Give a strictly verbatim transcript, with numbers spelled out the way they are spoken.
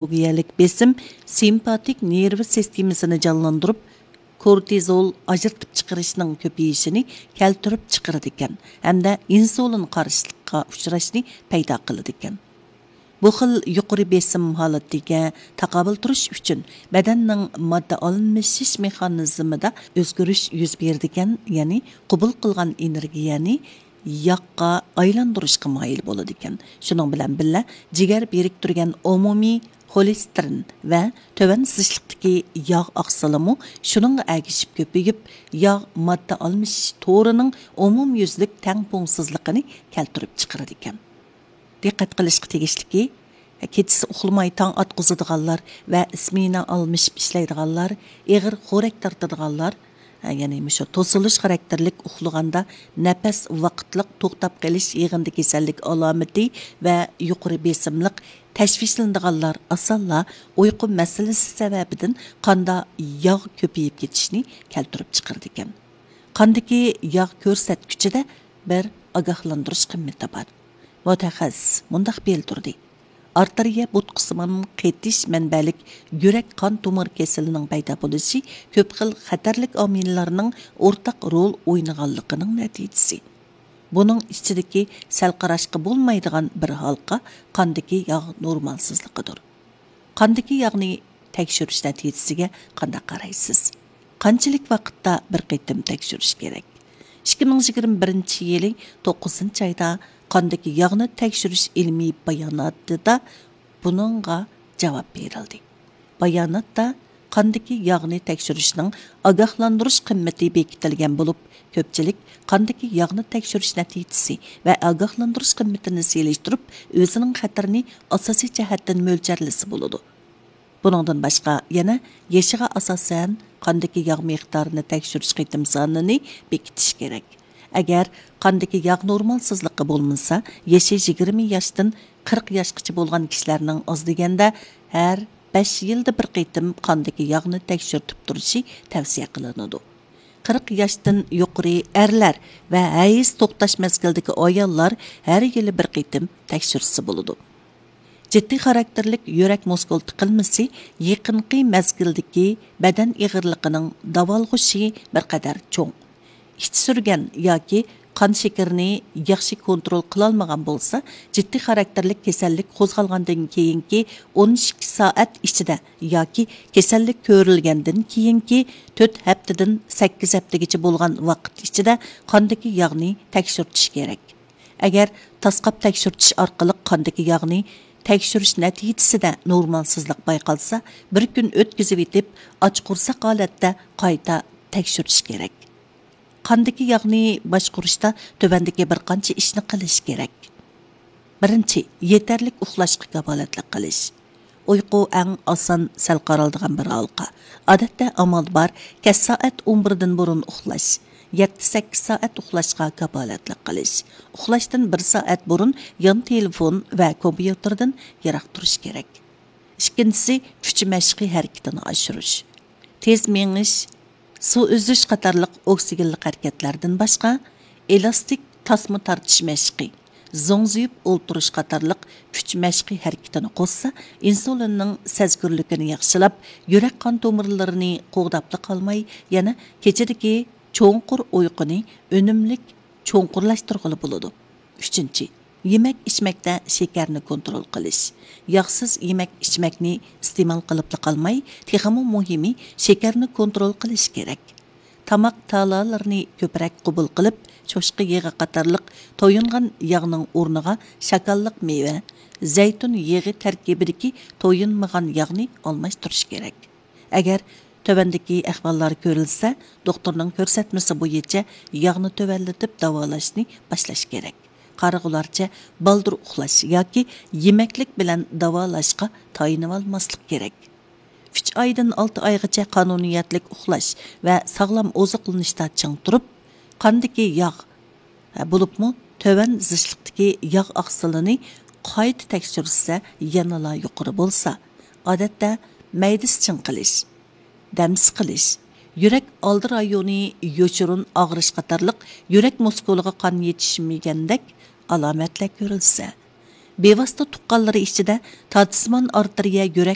ئىدېئولوگىيەلىك بېسىم سىمپاتىك نېرۋا سىستېمىسىنى جانلاندۇرۇپ، كورتىزول ئاجرىتىپ چىقىرىشنىڭ كۆپىيىشىنى كەلتۈرۈپ چىقىرىدىكەن ھەمدە ئىنسۇلىن قارشىلىققا ئۇچراشنى پەيدا قىلىدىكەن. بۇ خىل يۇقىرى بېسىم ھالىتىگە تاقابىل تۇرۇش ئۈچۈن بەدەننىڭ ماددا ئالمىشىش مېخانىزمىدا ئۆزگىرىش يۈز بېرىدىكەن، يەنى قوبۇل قىلغان ئېنېرگىيەنى ياغقا ئايلاندۇرۇشقا مايىل بولىدىكەن. شۇنىڭ بىلەن بىللە، جىگەر بىرىكتۈرگەن ئومۇمىي خولېستېرىن ۋە تۆۋەن زىچلىقتىكى ياغ ئاقسىلىمۇ شۇنىڭغا ئەگىشىپ كۆپىيىپ، ياغ ماددا ئالمىشىش تورىنىڭ ئومۇميۈزلۈك تەڭپۇڭسىزلىقىنى كەلتۈرۈپ چىقىرىدىكەن. دىققەت قىلىشقا تېگىشلىكى، كېچىسى ئۇخلىماي تاڭ ئاتقۇزىدىغانلار ۋە سمېنا ئالمىشىپ ئىشلەيدىغانلار، ئېغىر خورەك تارتىدىغانلار، يەنى مۇشۇ توسۇلۇش خاراكتېرلىك ئۇخلىغاندا نەپەس ۋاقىتلىق توختاپ قېلىش يىغىندى كېسەللىك ئالامىتى ۋە يۇقىرى بېسىملىق تەشۋىشلىنىدىغانلار ئاسانلا ئۇيقۇ مەسىلىسى سەۋەبىدىن قاندا ياغ كۆپىيىپ كېتىشنى كەلتۈرۈپ چىقىرىدىكەن. قاندىكى ياغ كۆرسەتكۈچىدە بىر ئاگاھلاندۇرۇش قىممىتى بار. مۇتەخەسسىس مۇنداق بىلدۈردى: ئارتېرىيە بوتقىسىمان قېتىش مەنبەلىك يۈرەك قان تومۇر كېسىلىنىڭ پەيدا بولۇشى كۆپ خىل خەتەرلىك ئامىللارنىڭ ئورتاق رول ئوينىغانلىقىنىڭ نەتىجىسى. بۇنىڭ ئىچىدىكى سەل قاراشقا بولمايدىغان بىر ھالقا قاندىكى ياغ نورمالسىزلىقىدۇر. قاندىكى ياغنى تەكشۈرۈش نەتىجىسىگە قانداق قارايسىز؟ قانچىلىك ۋاقىتتا بىر قېتىم تەكشۈرۈش كېرەك؟ ئىككى مىڭ يىگىرمە بىرىنچى يىلى توققۇزىنچى ئايدا قاندىكى ياغنى تەكشۈرۈش ئىلمىي باياناتىدا بۇنىڭغا جاۋاب بېرىلدى. باياناتتا قاندىكى ياغنى تەكشۈرۈشنىڭ ئاگاھلاندۇرۇش قىممىتى بېكىتىلگەن بولۇپ، كۆپچىلىك قاندىكى ياغنى تەكشۈرۈش نەتىجىسى ۋە ئاگاھلاندۇرۇش قىممىتىنى سېلىشتۇرۇپ، ئۆزىنىڭ خەتىرىنى ئاساسىي جەھەتتىن مۆلچەرلىسە بولىدۇ. بۇنىڭدىن باشقا، يەنە يېشىغا ئاساسەن قاندىكى ياغ مىقدارىنى تەكشۈرۈش قېتىم سانىنى بېكىتىش كېرەك. ئەگەر قاندىكى ياغ نورمالسىزلىقى بولمىسا، يېشى يىگىرمە ياشتىن قىرىق ياشقىچە بولغان كىشىلەرنىڭ ئاز دېگەندە ھەر بەش يىلدا بىر قېتىم قاندىكى ياغنى تەكشۈرتۈپ تۇرۇشى تەۋسىيە قىلىنىدۇ. قىرىق ياشتىن يۇقىرى ئەرلەر ۋە ھەيز توختاش مەزگىلىدىكى ئاياللار ھەر يىلى بىر قېتىم تەكشۈرتسە بولىدۇ. جىددىي خاراكتېرلىك يۈرەك مۇسكۇل تىقىلمىسى يېقىنقى مەزگىلدىكى بەدەن ئېغىرلىقىنىڭ داۋالغۇشى بىر قەدەر چوڭ. ئىچ سۈرگەن ياكى قان شېكىرىنى ياخشى كونترول قىلالمىغان بولسا، جىددىي خاراكتېرلىك كېسەللىك قوزغالغاندىن كېيىنكى ئون ئىككى سائەت ئىچىدە ياكى كېسەللىك كۆرۈلگەندىن كېيىنكى تۆت ھەپتىدىن سەككىز ھەپتىگىچە بولغان ۋاقىت ئىچىدە قاندىكى ياغنى تەكشۈرتۈش كېرەك. ئەگەر تاسقاپ تەكشۈرتۈش ئارقىلىق قاندىكى ياغنى تەكشۈرۈش نەتىجىسىدە نورمالسىزلىق بايقالسا، بىر كۈن ئۆتكۈزۈۋېتىپ، ئاچ قورساق ھالەتتە قايتا تەكشۈرتۈش كېرەك. قاندىكى ياغنى باشقۇرۇشتا تۆۋەندىكى بىر قانچە ئىشنى قىلىش كېرەك. بىرىنچى، يېتەرلىك ئۇخلاشقا كاپالەتلىك قىلىش. ئۇيقۇ ئەڭ ئاسان سەل قارالىدىغان بىر ھالقا. ئادەتتە ئامال بار، كەچ سائەت ئون بىردىن بۇرۇن ئۇخلاش، يەتتە سەككىز سائەت ئۇخلاشقا كاپالەتلىك قىلىش. ئۇخلاشتىن بىر سائەت بۇرۇن يان تېلېفون ۋە كومپيۇتېردىن يىراق تۇرۇش كېرەك. ئىككىنچىسى، كۈچ مەشقى ھەرىكىتىنى ئاشۇرۇش. تېز مېڭىش، سۇ ئۈزۈش قاتارلىق ئوكسىگېنلىق ھەرىكەتلەردىن باشقا، ئېلاستىك تاسما تارتىش مەشقى، زوڭزىيىپ ئولتۇرۇش قاتارلىق كۈچ مەشقى ھەرىكىتىنى قوشسا، ئىنسۇلىننىڭ سەزگۈرلۈكىنى ياخشىلاپ، يۈرەك قان تومۇرلىرىنى قوغداپلا قالماي، يەنە كېچىدىكى چوڭقۇر ئۇيقۇنى ئۈنۈملۈك چوڭقۇرلاشتۇرغىلى بولىدۇ. ئۈچىنچى، يېمەك ئىچمەكتە شېكەرنى كونترول قىلىش. ياغسىز يېمەك ئىچمەكنى ئىستېمال قىلىپلا قالماي، تېخىمۇ مۇھىمى شېكەرنى كونترول قىلىش كېرەك. تاماق تالالىرىنى كۆپرەك قوبۇل قىلىپ، چوشقا يېغى قاتارلىق تويۇنغان ياغنىڭ ئورنىغا شاكاللىق مېۋە، زەيتۇن يېغى تەركىبىدىكى تويۇنمىغان ياغنى ئالماشتۇرۇش كېرەك. ئەگەر تۆۋەندىكى ئەھۋاللار كۆرۈلسە، دوختۇرنىڭ كۆرسەتمىسى بويىچە ياغنى تۆۋەنلىتىپ داۋالاشنى باشلاش كېرەك. قارىغۇلارچە بالدۇر ئۇخلاش ياكى يېمەكلىك بىلەن داۋالاشقا تايىنىۋالماسلىق كېرەك. ئۈچ ئايدىن ئالتە ئايغىچە قانۇنىيەتلىك ئۇخلاش ۋە ساغلام ئوزۇقلىنىشتا چىڭ تۇرۇپ، قاندىكى ياغ، بولۇپمۇ تۆۋەن زىچلىقتىكى ياغ ئاقسىلىنى قايتا تەكشۈرسە يەنىلا يۇقىرى بولسا، ئادەتتە مەيدىسى چىڭقىلىش، دەم سىقىلىش، يۈرەك ئالدى رايونى يوشۇرۇن ئاغرىش قاتارلىق يۈرەك مۇسكۇلىغا قان يېتىشمىگەندەك ئالامەتلەر كۆرۈلسە، بىۋاسىتە تۇغقانلىرى ئىچىدە تارتىسىمان ئارتېرىيە يۈرەك